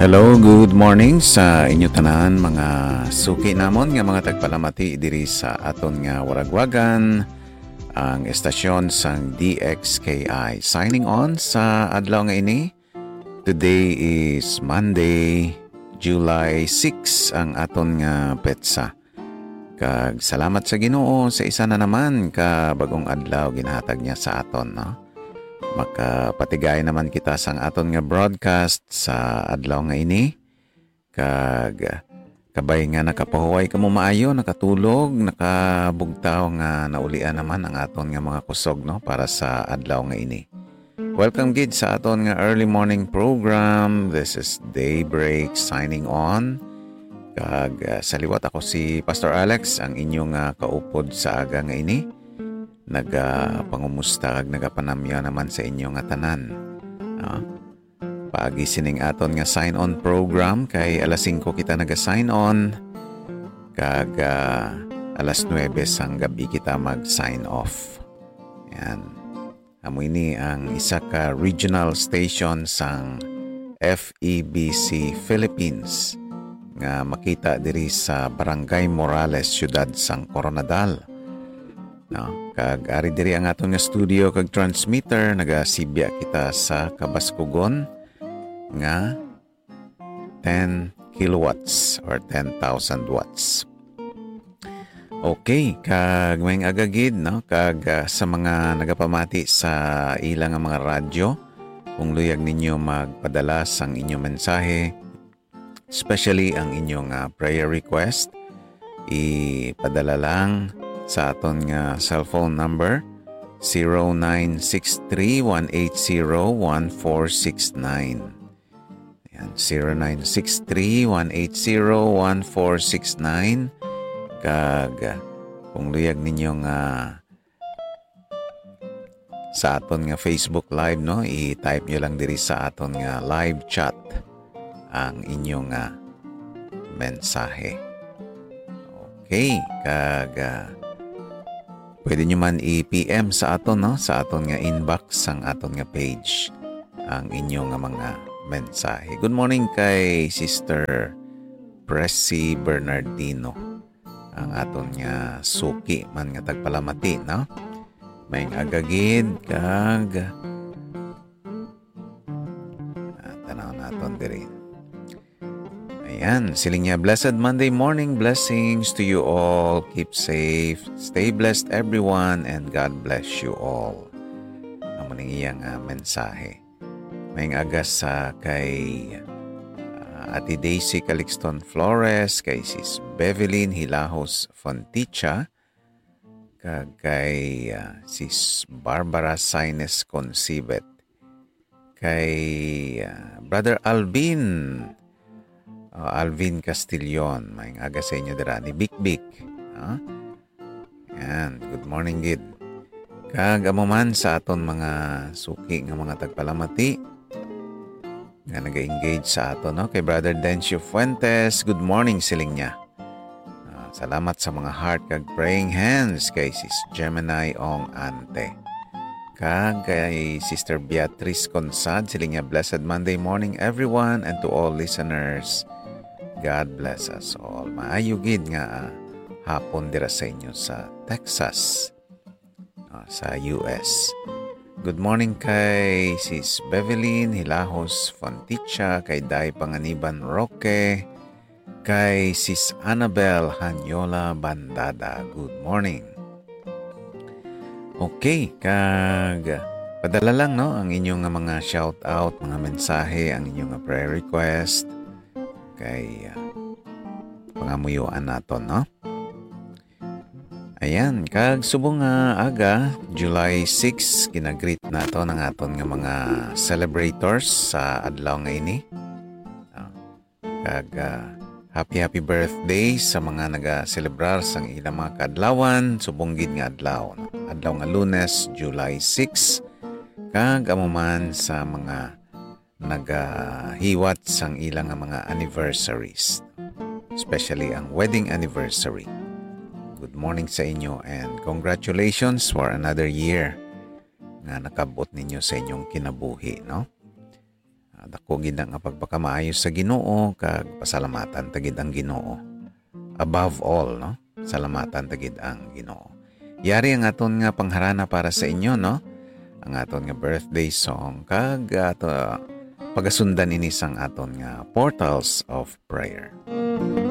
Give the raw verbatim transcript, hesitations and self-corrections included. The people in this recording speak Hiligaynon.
Hello, good morning sa inyo tanan, mga suki namon nga mga tagpalamati diri sa aton nga waragwagan, ang estasyon sang D X K I. Signing on sa adlaw nga ini. Today is Monday, July six ang aton nga petsa. Kag salamat sa Ginoo sa isa na naman ka bag-ong adlaw ginahatag niya sa aton, no? Makapatigay naman kita sang aton nga broadcast sa adlaw nga ini. Kag kabay nga nakapahuway kamo maayo, nakatulog, nakabugtaw nga naulian naman ang aton nga mga kusog, no, para sa adlaw nga ini. Welcome gid sa aton nga early morning program. This is Daybreak signing on. Kag, ah, sa liwat, ako si Pastor Alex, ang inyong, ah, kaupod sa aga nga ini. Nagapangumusta kag nagapanamya naman sa inyo nga tanan. Ah, paagi sining aton nga sign on program, kay alas singko kita naga-sign on, kag, ah, alas nuwebe sang gab-i kita mag-sign off. Yan. Amo ini ang isa ka regional station sang F E B C Philippines nga makita diri sa Barangay Morales, siyudad sang Koronadal. No? Kag ari diri ang aton nga studio kag transmitter, nagasibya kita sa kabaskugon nga ten kilowatts or ten thousand watts. Okay, kag maayong aga gid, no? Kag, ah, sa mga nagapamati sa ila nga mga radyo, kung luyag ninyo magpadala sang inyong mensahe, especially ang inyong, ah, prayer request, ipadala lang sa aton nga cellphone number, zero nine six three one eight zero one four six nine. Yan, zero nine six three one eight zero one four six nine. Kag, ah, kung luyag ninyo nga sa aton nga Facebook Live, no, i-type nyo lang diri sa aton nga live chat ang inyong, ah, mensahe. Okay, kag, ah, pwede nyo man i-P M sa aton, no, sa aton nga inbox, ang aton nga page, ang inyong nga mga mensahe. Good morning kay Sister Pressy Bernardino, ang aton nga suki man nga tagpalamati, no? Maayong aga gid, kag, ah, tanaw naton diri. Ayan, siling niya, "Blessed Monday morning, blessings to you all. Keep safe, stay blessed everyone, and God bless you all." Amo ning iyang, ah, mensahe. Maayong aga sa kay, ah, Ate Daisy Calixton Flores, kay Sis Bevelyn Hilahos Fonticha, kag kay, ah, Sis Barbara Saines Concibet, kay, ah, Brother Alvin, ah, Alvin Castillon, maayong aga sa inyo dira ni Bikbik, ha? Yan, good morning gid. Kag amo man sa aton mga suki nga mga tagpalamati nga naga-engage sa aton, no? Kay Brother Dencio Fuentes, good morning, siling niya. Ah, salamat sa mga heart kag praying hands kay Sis Gemini Ong Ante. Kag kay Sister Beatrice Consad, siling niya, "Blessed Monday morning, everyone, and to all listeners. God bless us all." Maayo gid nga, ah, hapon dira sa inyo sa Texas, ah, sa U S. Good morning kay Sis Bevelyn Hilahos Fonticha, kay Day Panganiban Roque, kay Sis Annabel Hanyola Bandada. Good morning. Okay, kag padala lang, no, ang inyong nga mga shout out, mga mensahe, ang inyong nga prayer request. Kay, ah, pangamuyuan naton, no? Ayan, kag subong nga aga, July six, ginagreet naton ang aton nga mga celebrators sa adlaw nga ini. Ah, kag, ah, happy, happy birthday sa mga nagaselebrar sang ilang mga kaadlawan, subong gid nga adlaw, no? Adlaw nga Lunes, July six, kag amo man sa mga nagahiwat sang ila nga mga anniversaries, especially ang wedding anniversary. Good morning sa inyo and congratulations for another year nga nakab-ot ninyo sa inyong kinabuhi, no? Dako gid na nga pagpakamaayo sa Ginoo, kag pasalamatan ta gid ang Ginoo. Above all, no? Salamatan ta gid ang Ginoo. Yari ang aton nga pangharana para sa inyo, no? Ang aton nga birthday song, kag ato pagasundan ini sang aton nga Portals of Prayer.